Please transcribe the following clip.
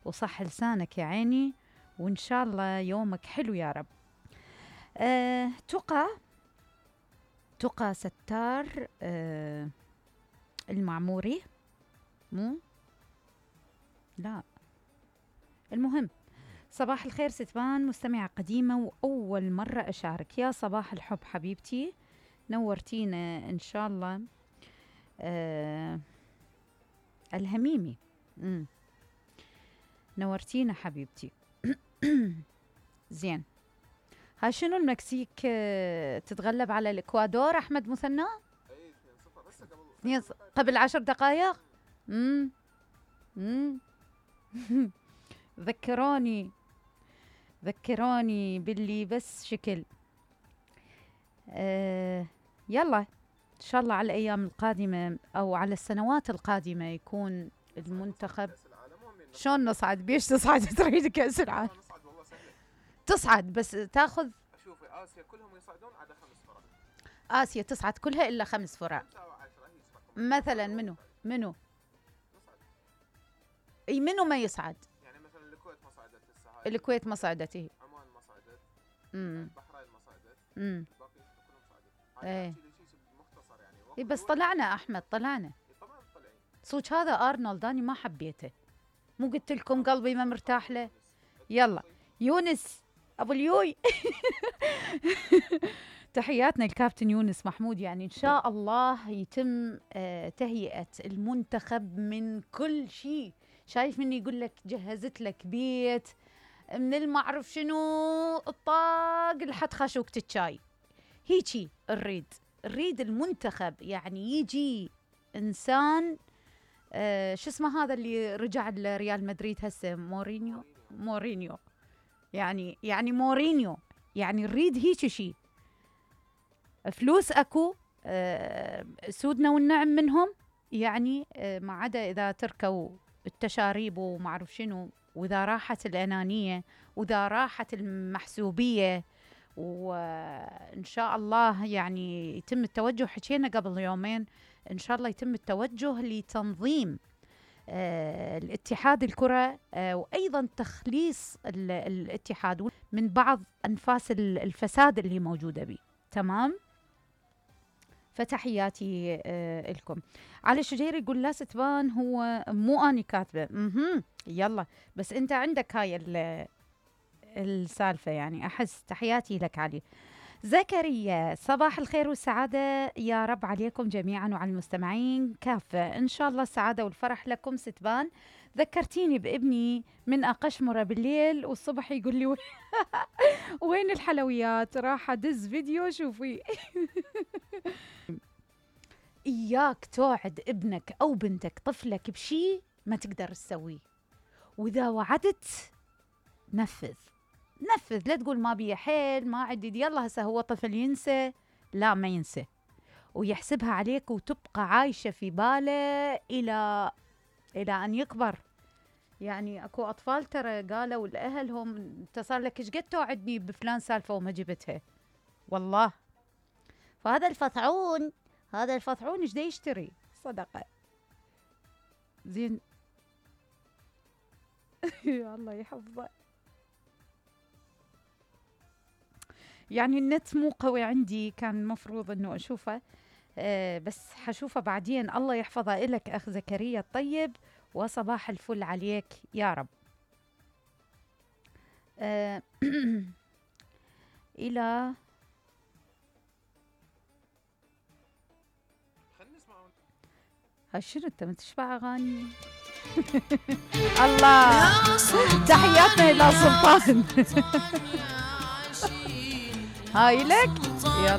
وصح لسانك يا عيني، وإن شاء الله يومك حلو يا رب. تقى ستار المعموري، مو لا المهم. صباح الخير ستبان، مستمعة قديمة وأول مرة أشارك. يا صباح الحب حبيبتي، نورتينا إن شاء الله. الهميمي نورتينا حبيبتي. زين، هاي شنو المكسيك تتغلب على الإكوادور أحمد مثنى؟ قبل 10 دقائق. ذكروني باللي بس شكل. يلا إن شاء الله على الأيام القادمة أو على السنوات القادمة يكون المنتخب. شلون نصعد؟ بيش تصعد؟ تريد كأس العالم تصعد بس تاخذ. شوفي آسيا كلهم يصعدون عدا 5 فرق. آسيا تصعد كلها إلا 5 فرق. مثلا منو؟ اي منو ما يصعد؟ يعني مثلا الكويت ما صعدت لسه، هاي الكويت ما صعدت، هي عمان ما صعدت، البحرين ما صعدت، الباقي كلهم صعدوا. ايه هاي مختصر يعني. اي بس طلعنا احمد، طلعنا. طبعا طلعين. صوت هذا ارنولد اني ما حبيته، مو قلت لكم قلبي ما مرتاح له. يلا يونس ابو اليوي. تحياتنا الكابتن يونس محمود. يعني إن شاء الله يتم تهيئة المنتخب من كل شيء. شايف مني يقول لك جهزت لك بيت من المعرف شنو الطاق لحد خشوكة الشاي، هيجي نريد المنتخب. يعني يجي إنسان شو اسمه هذا اللي رجع لريال مدريد هسه، مورينيو. يعني مورينيو، يعني نريد هيك شيء. فلوس اكو، سودنا والنعم منهم، يعني ما عدا اذا تركوا التشاريب وما اعرف شنو، واذا راحت الانانيه، واذا راحت المحسوبيه، وان شاء الله يعني يتم التوجه. حكينا قبل يومين ان شاء الله يتم التوجه لتنظيم الاتحاد الكرة، وأيضا تخليص الاتحاد من بعض أنفاس الفساد اللي موجودة به. تمام، فتحياتي لكم. علي شجيري يقول لا ستبان هو مو أني كاتبة. يلا بس أنت عندك هاي السالفة، يعني أحس. تحياتي لك علي. زكريا صباح الخير والسعادة يا رب عليكم جميعا وعلى المستمعين كافة. إن شاء الله السعادة والفرح لكم ستبان. ذكرتيني بابني من أقشمرة بالليل والصبح يقول لي وين الحلويات؟ راح أدز فيديو شوفي. إياك توعد ابنك أو بنتك طفلك بشي ما تقدر تسويه، وإذا وعدت نفذ، لا تقول ما بي حيل ما عدي. يلا هسه هو طفل ينسى؟ لا ما ينسى، ويحسبها عليك وتبقى عايشة في باله إلى أن يكبر. يعني أكو أطفال ترى قالوا لأهلهم أنت صار لك إيش قد توعدني بفلان سالفة وما جبتها والله. فهذا الفطعون إيش دا يشتري؟ صدقة. زين. الله يحفظه. يعني النت مو قوي عندي، كان المفروض انه اشوفه، بس حشوفه بعدين. الله يحفظه إلك اخ زكريا الطيب، وصباح الفل عليك يا رب. الى شنو انت متشبع اغاني؟ الله، تحياتنا الى سلطان. هاي لك، يلا